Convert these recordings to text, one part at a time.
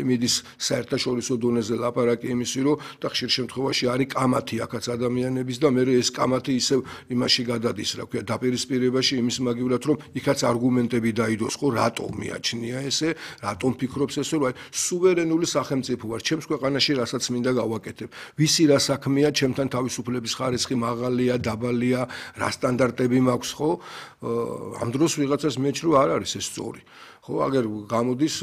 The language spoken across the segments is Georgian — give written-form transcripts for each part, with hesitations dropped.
მიდის საერთაშორისო დონეზე ლაპარაკი იმისი, რომ და ხშირ შემთხვევაში არის კამათი აქაც ადამიანების და მე ეს კამათი ისევ იმაში გადადის, რა ქვია, დაპირისპირებაში იმის მაგივრად, რომ იქაც არგუმენტები დაიდოს, ხო, რატომ მიაჩნია ესე, რატომ ფიქრობს ესე, რომ სუვერენული სახელმწიფო ვარ, ჩემს ქვეყანაში რასაც მინდა გავაკეთებ. ვისი რა საქმეა, ჩემთან თავისუფლების ხარისხი მაღალია, დაბალია, რა სტანდარტები მაქვს, ხო? ამ დროს ვიღაცას მეჩ რომ არ არის ეს სწორი. ხო, აგერ გამოდის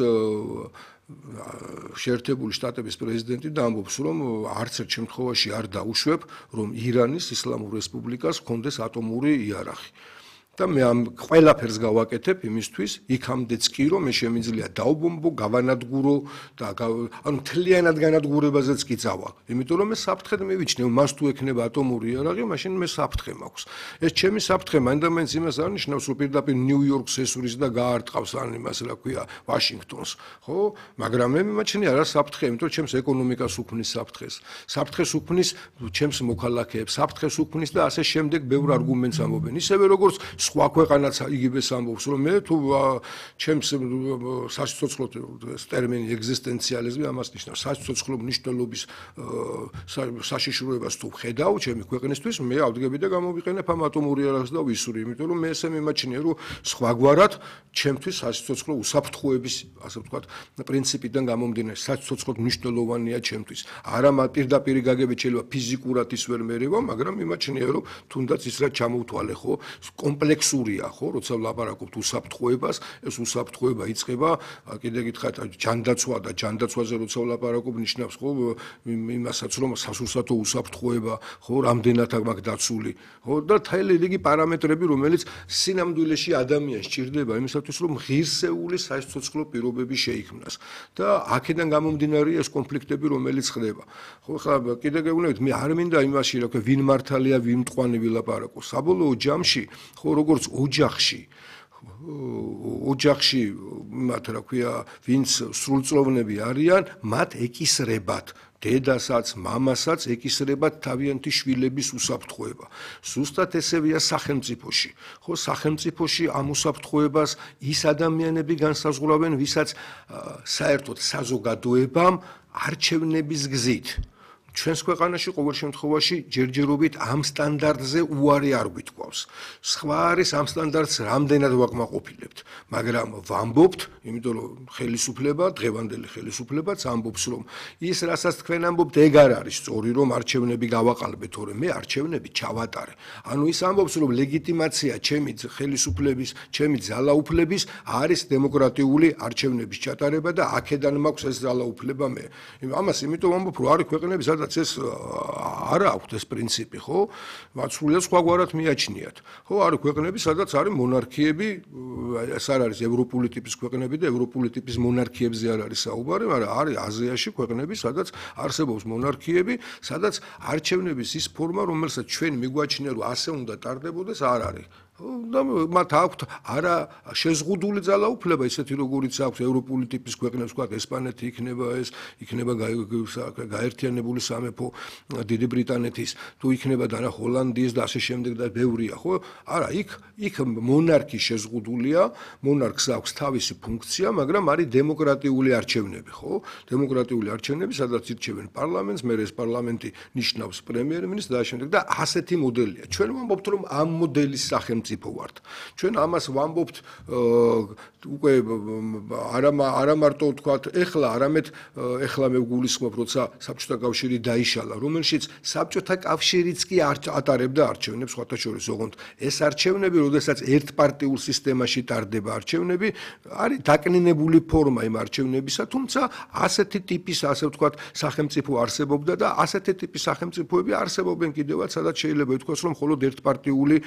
შეერთებული შტატების პრეზიდენტი და ამბობს, რომ არც ერთ შემთხვევაში არ დაუშვებ, რომ ირანის ისლამურ რესპუბლიკას ჰქონდეს ატომური იარაღი. და მე ამ ყველაფერს გავაკეთებ იმისთვის, იქამდეც კი რომ მე შემიძლია დავბომბო, გავანადგურო და ანუ მთლიანად განადგურებაზეც კი წავა. იმიტომ რომ მე საფრთხედ მივიჩნევ, მას თუ ექნება ატომური იარაღი, მაშინ მე საფრთხე მაქვს. ეს ჩემი საფრთხე მაინდა-მაინც იმას არ ნიშნავს, რომ პირდაპირ ნიუ-იორკს ესვრის და გაარტყავს ან იმას, რა ქვია, ვაშინგტონს, ხო? მაგრამ მე მიმაჩნია რა საფრთხე, იმიტომ რომ ჩემს ეკონომიკას უქმნის საფრთხეს. საფრთხეს უქმნის ჩემს მოქალაქეებს, საფრთხეს უქმნის და ასე შემდეგ ბევრ არგუმენტს ამბობენ. ისევე როგორც სხვა ქვეყანაც იგივეს ამბობს, რომ მე თუ ჩემს საცოცხლო ტერმინი ეგზისტენციალიზმი ამას ნიშნავს, საცოცხლო მნიშვნელობის საშიშროებას თუ ხედავ ჩემი ქვეყნისთვის, მე ავდგები და გამოვიყენებ ამ ატომური იარაღს და ვისური, იმიტომ რომ მე ესე მიმაჩნია, რომ სხვაგვარად ჩემთვის საცოცხლო უსაფრთხოების, ასე ვთქვათ, პრინციპიდან გამომდინარე, საცოცხლო მნიშვნელოვანია ჩემთვის. არა პირდაპირ გაგებით შეიძლება ფიზიკურად ის ვერ მერევა, მაგრამ მიმაჩნია, რომ თუნდაც ის რაც ჩამოვთვალე, ხო, კომპლექსურია, ხო, როცა ვლაპარაკობთ უსაფრთხოებას, ეს უსაფრთხოება იწყება, კიდე გითხარით, ჯანდაცვა და ჯანდაცვაზე როცა ვლაპარაკობ, ნიშნავს, ხო, იმასაც, რომ სასურსათო უსაფრთხოება, ხო, რამდენად აქვს დაცული, ხო, და თელი რიგი პარამეტრები, რომელიც სინამდვილეში ადამიანს სჭირდება იმისათვის, რომ ღირსეული საცოცხლო პირობები შეიქმნას. და აქედან გამომდინარეა ეს კონფლიქტები, რომელიც ხდება. ხო, ხა კიდე გეუბნებით, მე არ მინდა იმაში, რა ქვია, ვინ მართალია, ვინ მტკვანი ვილაპარაკო. საბოლოო ჯამში, ხო, როგორც ოჯახში მათ, რა ქვია, ვინც სრულწლოვნები არიან, მათ ეკისრებათ დედასაც, მამასაც ეკისრებათ თავიანთი შვილების უსაფრთხოება. ზუსტად ესევეა სახელმწიფოში. ხო, სახელმწიფოში ამ უსაფრთხოებას ის ადამიანები განსაზღვრავენ, ვისაც საერთოდ საზოგადოებამ არჩევნების გზით ჩვენს ქვეყანაში ყოველ შემთხვევაში ჯერჯერობით ამ სტანდარტზე უარი არ გვითქვავს. სხვა არის ამ სტანდარტს რამდენად ვაკმაყოფილებთ, მაგრამ ვამბობთ, იმიტომ რომ ხელისუფლება, დღევანდელი ხელისუფლებაც ამბობს, რომ ის რასაც თქვენ ამბობთ, ეგ არ არის სწორი, რომ არჩევნები გავაყალბეთ, თორემ მე არჩევნები ჩავატარე. ანუ ის ამბობს, რომ ლეგიტიმაცია ჩემი ხელისუფლების, ჩემი ძალაუფლების არის დემოკრატიული არჩევნების ჩატარება და აქედან მაქვს ეს ძალაუფლება მე. ამას იმიტომ ამბობ, რომ არის ქვეყნები, სადაც ეს არ აქვს ეს პრინციპი, ხო? სრულიად სხვაგვარად მიაჩნიათ. ხო, არის ქვეყნები, სადაც არის მონარქიები, ეს არ არის ევროპული ტიპის ქვეყნები და ევროპული ტიპის მონარქიებზე არ არის საუბარი, მაგრამ არის აზიაში ქვეყნები, სადაც არსებობს მონარქიები, სადაც არჩევნების ის ფორმა, რომელსაც ჩვენ მიგვაჩნია, რომ ასე უნდა ტარდებოდეს, არ არის. და მათ აქვთ არა შეზღუდული ძალაუფლება, ისეთი როგორიც აქვს ევროპული ტიპის ქვეყნებს, ვთქვათ, ესპანეთი იქნება გაერთიანებული სამეფო დიდი ბრიტანეთის, თუ იქნება და რა ჰოლანდიის და ასე შემდეგ და ბევრია, ხო? არა, იქ მონარქი შეზღუდულია, მონარქს აქვს თავისი ფუნქცია, მაგრამ არის დემოკრატიული არჩევნები, ხო? დემოკრატიული არჩევნები, სადაც ირჩევენ პარლამენტს, მე ეს პარლამენტი ნიშნავს პრემიერ-მინისტრს და ასე შემდეგ და ასეთი მოდელია. ჩვენ ვამბობთ, რომ ამ მოდელის სახელმწიფო ვართ. ჩვენ ამას ვამბობთ უკვე არა მარტო ვთქვათ ეხლა, არამედ ეხლა მე ვგულისხმობ, როცა საბჭოთა კავშირი დაიშალა, რომელშიც საბჭოთა კავშირიც კი ატარებდა არჩევნებს, სხვათა შორის ოღონდ ეს არჩევნები, როდესაც ერთპარტიულ სისტემაში ტარდება არჩევნები, არის დაკნინებული ფორმა იმ არჩევნებისა, თუმცა ასეთი ტიპის, ასე ვთქვათ, სახელმწიფო არსებობდა და ასეთი ტიპის სახელმწიფოები არსებობენ კიდევაც, სადაც შეიძლება ითქვას, რომ მხოლოდ ერთპარტიული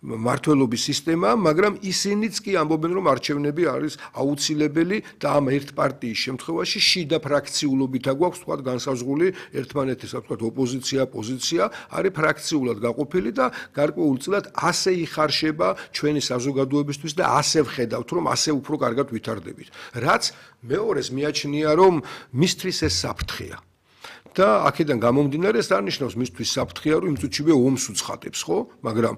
მართლობის სისტემა, მაგრამ ისინიც კი ამბობენ, რომ არჩევნები არის აუცილებელი და ამ ერთ პარტიის შემთხვევაში შიდა ფრაქციულობით აგვაქვს, თქვათ, განსაზღვრული ერთმანეთის, ვთქვათ, ოპოზიცია, პოზიცია, არის ფრაქციულად გაყოფილი და გარკვეულწილად ასე იხარშება ჩვენი საზოგადოებისთვის და ასე ვხედავთ, რომ ასე უფრო კარგად ვითარდებით. რაც მეორეს მიაჩნია, რომ მისთვის ეს საფრთხეა. და აქედან გამომდინარე ეს არ ნიშნავს მისთვის საფრთხეა, რომ იმ წუთშივე ომს უცხადებს, ხო? მაგრამ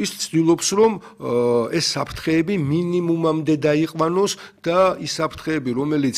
ის ცდილობს, რომ ეს საფრთხეები მინიმუმამდე დაიყვანოს და ის საფრთხეები, რომელიც